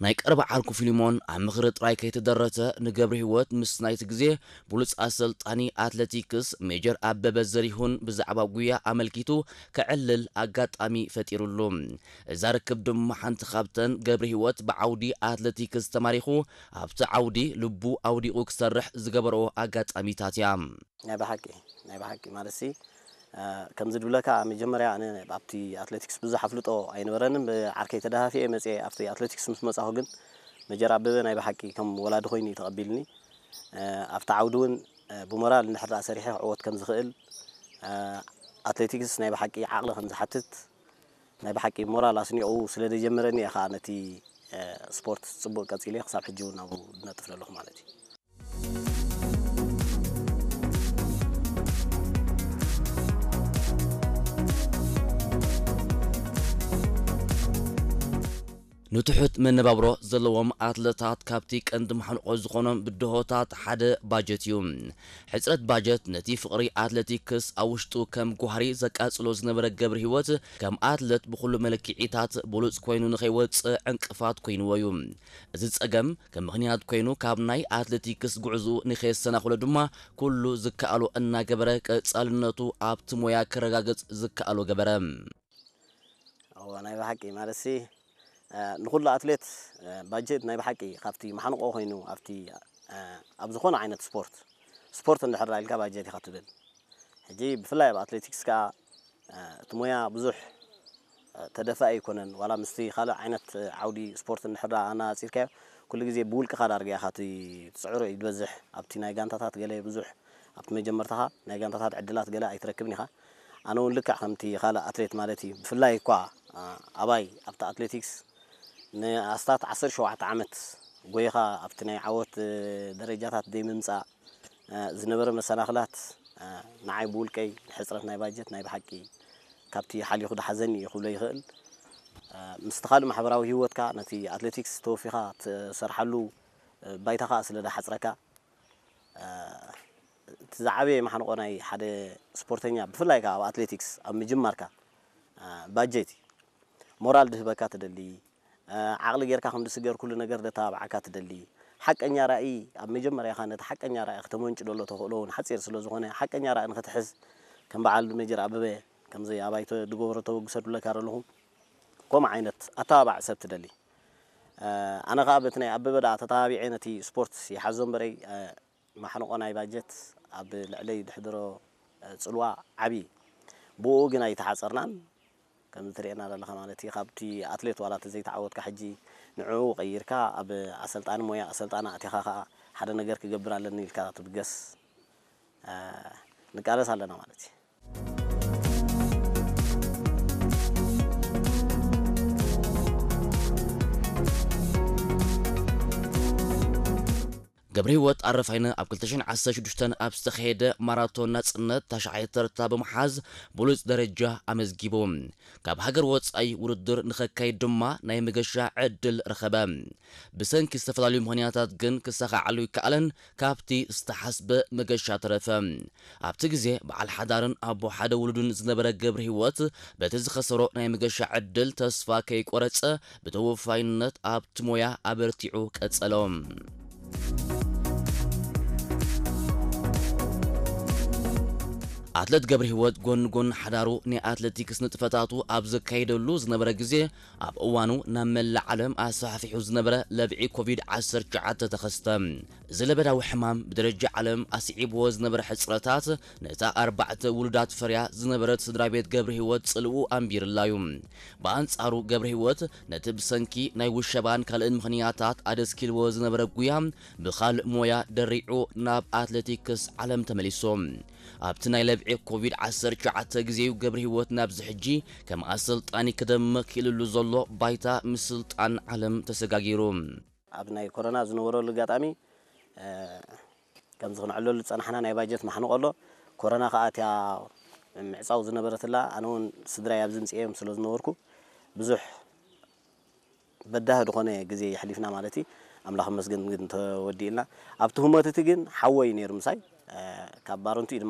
ናይ ቀረባ ዓርኩ ፊልሞን ኣብ ምኽሪ ጥራይ ከይተደረተ፣ ንገብረ ህይወት ምስ ናይቲ ግዜ ብሉጽ ኣሰልጣኒ ኣትሌቲክስ ሜጀር ኣበበ ዘሪሁን ብዛዕባ ጉያ ኣመልኪቱ ከዕልል ኣጋጣሚ ፈጢሩሉ። እዛ ርክብ ድማ ሓንቲ ካብተን ገብረ ህይወት ብዓውዲ ኣትሌቲክስ ተማሪኹ ኣብቲ ዓውዲ ልቡ ኣውዲቑ ክሰርሕ ዝገበርኦ ኣጋጣሚታት እያ። ናይ ብሓቂ፣ ናይ ብሓቂ ማለትሲ፣ እ፣ ከምዚ ድብለካ መጀመርያ ኣነ ኣብቲ ኣትሌቲክስ ብዙሕ ኣፍልጦ ኣይነበረንን። ብዓርከይ ተደፋፊኤ መጽየ ኣብቲ ኣትሌቲክስ ምስ መጻኹ ግን መጀር ኣበበ ናይ ብሓቂ ከም ወላዲ ኮይኑ እዩ ተቐቢልኒ። እ፣ ኣብቲ ዓውዲ እውን፣ እ፣ ብሞራል እንድሕር ደኣ ሰሪሐ ክዕወት ከም ዝኽእል፣ እ፣ ኣትሌቲክስ ናይ ብሓቂ ዓቕሊ ከም ዝሓትት ናይ ብሓቂ ሞራል ኣስኒቑ ስለ ዘጀመረኒ እየ ኸኣ ነቲ፣ እ፣ ስፖርት ጽቡቕ ቀጺለ ክሳብ ሕጂ እውን ኣብኡ ዝነጥፍ ዘለኹ ማለት እዩ። ንትሑት መነባብሮ ዘለዎም ኣትለታት ካብቲ ቀንዲ ማሕንቆ ዝኾኖም ብድሆታት ሓደ ባጀት እዩ። ሕጽረት ባጀት ነቲ ፍቕሪ ኣትሌቲክስ ኣብ ውሽጡ ከም ጓህሪ ዘቃጽሎ ዝነበረ ገብረ ህይወት ከም ኣትለት ብኹሉ መለክዒታት ብሉጽ ኮይኑ ንኸይወጽእ ዕንቅፋት ኮይንዎ እዩ። እዚ ጸገም ከም ምኽንያት ኮይኑ ካብ ናይ ኣትሌቲክስ ጉዕዝኡ ንኸየሰናኽሎ ድማ ኩሉ ዝከኣሎ እናገበረ ቀጻልነቱ ኣብቲ ሞያ ከረጋግጽ ዝከኣሎ ገበረ። እወ፣ ናይ ብሓቂ ማለትሲ፣ እ፣ ንኹሉ ኣትሌት፣ እ፣ ባጀት ናይ ብሓቂ ካብቲ ማሕንቆ ኮይኑ ኣብቲ፣ እ፣ ኣብ ዝኾነ ዓይነት ስፖርት፣ ስፖርት እንድሕር ኢልካ ባጀት ኢኻ ትብል። ሕጂ ብፍላይ ኣብ ኣትሌቲክስ ከኣ፣ እ፣ እቲ ሞያ ብዙሕ፣ እ፣ ተደፋኢ ኣይኮነን። ዋላ ምስቲ ካልእ ዓይነት፣ እ፣ ዓውዲ ስፖርት እንድሕር ደኣ ኣነጻጺርካዮ፣ ኩሉ ግዜ ብውልቅኻ ዳርጋ ኢኻ እቲ ትጽዕሮ እዩ ዝበዝሕ። ኣብቲ ናይ ጋንታታት ገለ ብዙሕ፣ ኣብቲ መጀመርታኻ ናይ ጋንታታት ዕድላት ገለ ኣይትረክብን ኢኻ። ኣነ እውን ልክዕ ከምቲ ካልእ ኣትሌት ማለት እዩ። ብፍላይ እኳ፣ እ፣ ኣባይ ኣብቲ ኣትሌቲክስ ንኣስታት ዓሰርተ ሸውዓተ ዓመት ጎይኻ ኣብቲ ናይ ዓወት፣ እ፣ ደረጃታት ዘይምምጻእ፣ እ፣ ዝነበረ መሰናኽላት፣ እ፣ ንዓይ ብውልቀይ ሕጽረት ናይ ባጀት ናይ ብሓቂ ካብቲ ሓሊኹ ድሓዘኒ እዩ ክብሎ ይኽእል። እ፣ ምስቲ ካልእ ማሕበራዊ ህይወትካ ነቲ ኣትሌቲክስ ተወፊኻ ትሰርሓሉ፣ እ፣ ባይታ ኸኣ ስለ ድሓጽረካ፣ እ፣ እቲ ዝዓበየ ማሕንቆ ናይ ሓደ ስፖርተኛ ብፍላይ ከኣ ኣብ ኣትሌቲክስ ኣብ ምጅማርካ፣ እ፣ ባጀት እዩ። ሞራል ድህበካ ትደሊ፣ እ፣ ዓቕሊ ጌርካ ከም ዝስገር ኩሉ ነገር ደተባብዓካ ትደሊ። ሓቀኛ ራእይ ኣብ መጀመርያኻ ነቲ ሓቀኛ ራእይ ክተመንጭ ደሎ ተኽእሎ እውን ሓጺር ስለ ዝኾነ ሓቀኛ ራእይ ንኽትሕዝ ከም በዓል ሜጀር ኣበበ ከምዚ ኣባይ ተ-፣ ድገበሮ ተበግሶ ድብለካ ዘለኹ ከምኡ ዓይነት ኣተባባዕ ሰብ ትደሊ። እ፣ ኣነ ኸኣ በቲ ናይ ኣበበ ደኣ ተተባቢዐ ነቲ ስፖርት ይሓዞ እምበረይ፣ እ፣ ማሕንቆ ናይ ባጀት ኣብ ልዕለይ ድሕድሮ፣ እ፣ ጽልዋ ዓቢ እዩ። ብኡ ግን ኣይተሓጸርናን። ከምዚ ትርእየና ዘለኻ ማለት እዩ። ካብቲ ኣትሌት ዋላ እንተ ዘይተዓወትካ ሕጂ ንዕኡ ቀይርካ ኣብ ኣሰልጣኒ ሞያ ኣሰልጣኒ ኣቲኻ ኸኣ ሓደ ነገር ክገብር ኣለኒ ኢልካ ትብገስ፣ እ፣ ንቃለስ ኣለና ማለት እዩ። ገብረ ህይወት ኣረፋይነ ኣብ ክልተ ሽሕን ዓሰርተ ሽዱሽተን ኣብ ዝተኻየደ ማራቶን ናጽነት ታሽዓይ ተርታ ብምሓዝ ብሉጽ ደረጃ ኣመዝጊቡ። ካብ ሃገር ወጻኢ ውድድር ንኸካይድ ድማ ናይ መገሻ ዕድል ረኸበ። ብሰንኪ ዝተፈላለዩ ምኽንያታት ግን ክሳኻዓሉ ይከኣለን ካብቲ ዝተሓስበ መገሻ ተረፈ። ኣብቲ ግዜ በዓል ሓዳርን ኣቦ ሓደ ውሉድን ዝነበረ ገብረ ህይወት በቲ ዝኸሰሮ ናይ መገሻ ዕድል ተስፋ ከይቆረጸ ብተወፋይነት ኣብቲ ሞያ ኣበርቲዑ ቀጸሎ። ኣትለት ገብረ ህይወት ጎን ጎን ሓዳሩ ናይ ኣትሌቲክስ ንጥፈታቱ ኣብ ዘካየደሉ ዝነበረ ግዜ ኣብ እዋኑ ናብ መላእ ዓለም ኣስፋሕፊሑ ዝነበረ ለብዒ ኮቪድ ዓሰርተ ትሽዓተ ተኸስተ። እዚ ለበዳዊ ሕማም ብደረጃ ዓለም ኣስዒብዎ ዝነበረ ሕጽረታት ነታ ኣርባዕተ ውሉዳት ፈርያ ዝነበረት ስድራ ቤት ገብረ ህይወት ጽልኡ ኣንቢርላዩ። ብኣንጻሩ ገብረ ህይወት ነቲ ብሰንኪ ናይ ውሸባን ካልእን ምኽንያታት ኣደስኪልዎ ዝነበረ ጉያ ብኻልእ ሞያ ደሪዑ ናብ ኣትሌቲክስ ዓለም ተመሊሱ። ኣብቲ ናይ ለብዒ ኮቪድ ዓሰርተ ትሽዓተ ግዜኡ ገብረ ህይወት ናብዚ ሕጂ ከም ኣሰልጣኒ ክደምቕ ክኢልሉ ዘሎ ባይታ ምስልጣን ዓለም ተሰጋጊሩ። ኣብ ናይ ኮሮና ዝነበረሉ ኣጋጣሚ፣ እ፣ ከምዚ ክንዕለሉ ዝጸናሕና ናይ ባጀት ማሕንቆ ኣሎ። ኮሮና ከኣ እቲኣ ምዕጻው ዝነበረትላ፣ ኣነ እውን ስድራይ ኣብዚ ምጽኤ እዮም ስለ ዝነበርኩ ብዙሕ በዳሂ ዝኾነ ግዜ የሕሊፍና ማለት እዩ። ኣምላኽ ይመስገን ግን ተወዲእልና። ኣብቲ ህሞት እቲ ግን ሓወይ ነይሩ ምሳይ፣ እ፣ ካብ ባረንቱ እዩ